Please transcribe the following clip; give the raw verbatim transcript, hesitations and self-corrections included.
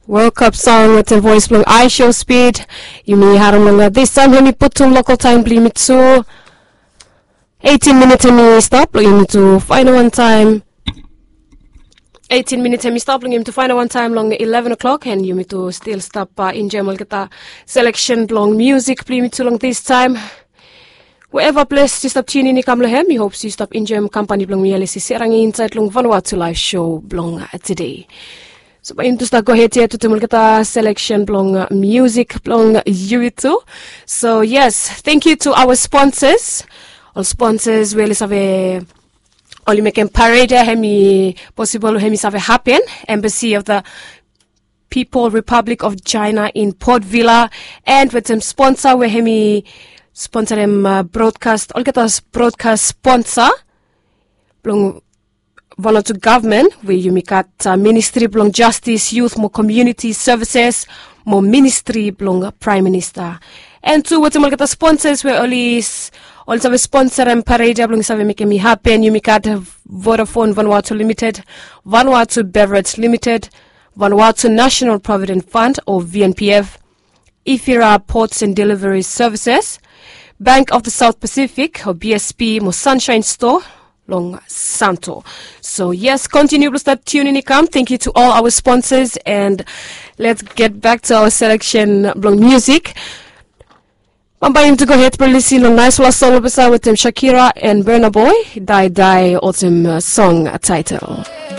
World Cup song wetem voes blong Aisho Speed. Yumi harim long distaem, hemi putum lokal taem blong yumi tu. Eitin minit hemi stap long yumi tu faenol wantaem. Eitin minit hemi stap long yumi tu faenol wantaem long ileven o'clock, and yumi tu stil stap enjoem olgeta seleksen blong musik blong yumi tu long distaem. Wherever ples yu stap tiunin i kam long hem, mi hop yu stap enjoem kampani blong mi, Alisi Serangi, insaed long Vanuatu Live Show blong tede. So bae yumi tu stap gohed yet wetem olgeta seleksen blong musik blong yumi tu. So yes, thank you to our sponsors. Ol sponsors we oli save, oli mekem parade ya hemi posibol, hemi save hapen. Embassy of the People Republic of China in Port Vila, and wetem sponsor we hemi sponsorem brodkas, olgeta brodkas sponsor blong Vanuatu gavman, we yumi gat Ministri blong Jastis, Yut mo Komuniti Sevises mo Ministri blong Praem Minista. And tu wetem olgeta sponsors we oli, oli save sponsorem parade ya blong save mekem i hapen, yumi gat Vodafone Vanuatu Limited, Vanuatu Beverage Limited, Vanuatu National Provident Fund o V N P F, Ifira Ports and Delivery Services, Bank of the South Pacific o B S P mo Sunshine Store long Santo. So yes, kontiniu blong stap tiunin i kam. Thank you to all our sponsors, and let's get back to our selection blong musik. Bambae yumi tu gohed blong lisin long naesfala song blong pesa wetem Shakira and Burna Boy, Dae Dae, olsem song taetel.